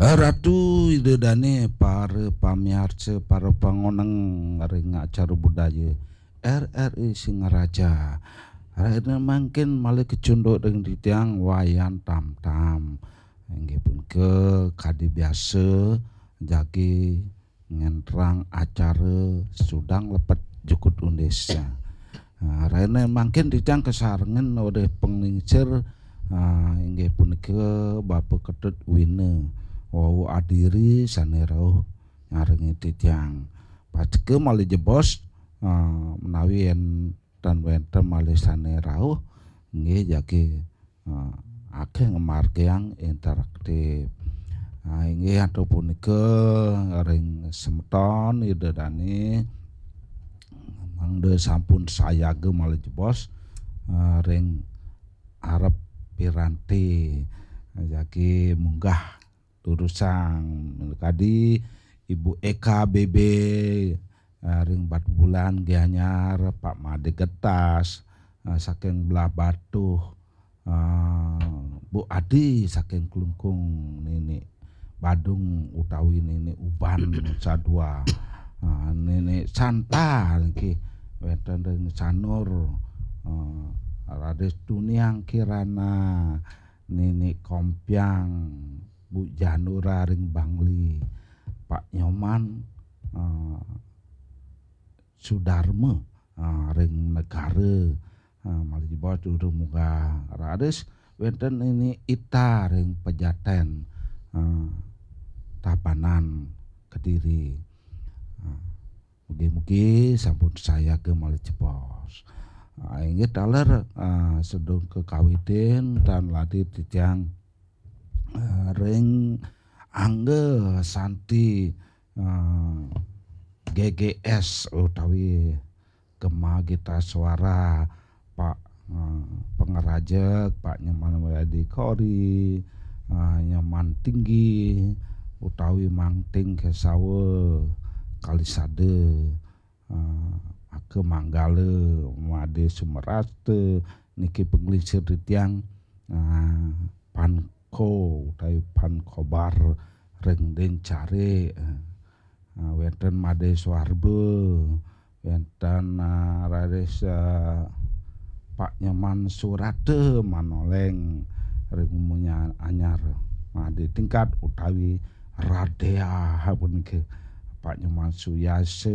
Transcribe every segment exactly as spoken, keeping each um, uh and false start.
Ratu Ida Dane, para pamiarsa, para pangoneng ring acara budaya R R I Singaraja. Rena mangkin malih kacunduk ring titiang Wayan Tamtam. Inggih punika kadi biasa jagi ngenterang acara sudang lepet jukut undis. Ah, rena mangkin titiang kasarengin olih panglingsir, ah, inggih punika Bapa Ketut Wina wau adiri sane rauh nyarengi titiang. Pastika malih jebos, ah, menawi enten wenten malih sane rauh, inggih jagi, ah, akeh ngamargiang interaktif. Ah, inggih antuk punika ring semeton Ida Dane mangda sampun sayaga malih jebos, ah, ring arep piranti jagi munggah durusang kadi Ibu Eka B B, ah, ring Batubulan, Gianyar, Pak Made Getas, ah, saking Belah Batuh, ah, Bu Adi saking Klungkung, Nini Badung utawi Nini Uban Sadua, ah, Nini Santa niki wenten ring Sanur, ah, Raden Tuniang Kirana, Nini Kompiang, Bu Janura ring Bangli, Pak Nyoman, ah, Sudarma, ah, ring Negara, ah, malih jebos durung munggah. Raris wenten Nini Ita ring Pejaten, ah, Tabanan Kediri. Ah, mugi-mugi sampun sayaga malih jebos. Ah, inggih taler, ah, sedung kakawitin tan lati titiang, ah, ring angga santi, ah, G G S utawi Gema Gita Suara, Pak, ah, Pangerajek, Pak Nyoman Wiadi Kori, ah, Nyoman Tinggi, utawi Mangting Kesawa Kalisada, ah, Aka Manggala, Made Sumerasta, niki panglingsir titiang, ah, Panko utawi Pankobar ring Ding Care, ah, wenten Made Suarba, wenten, ah, raris, ah, Pak Nyoman Surata Manoleng ring Munya Anyar, Made Tingkat utawi Radea punika, Pak Nyoman Suyasa,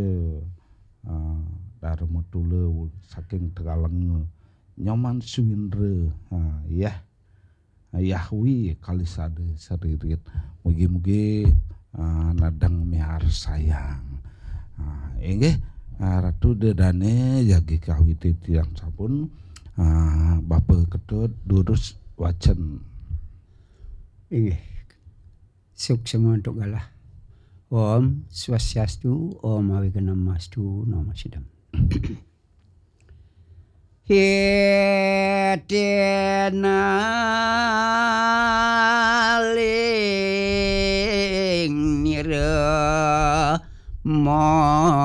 ah, Dharma Tula saking Tegalenga, Nyoman Suwindra, ah, yah, Yahwi Kalisada Seririt. Mugi-mugi, ah, nedeng miarsayang. Ah, inggih, ah, Ratu Ida Dane jagi kawiti tiang sampun, ah, Bapa Ketut durus wacen. Inggih. Suksema antuk galah. Om Swastiastu, Om Awighnam Astu, Namo Siddham. Hidena ling nira mojar.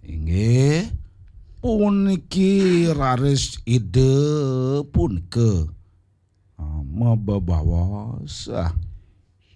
Inggih, puniki raris Ida punika, ah, mabebaos, ah,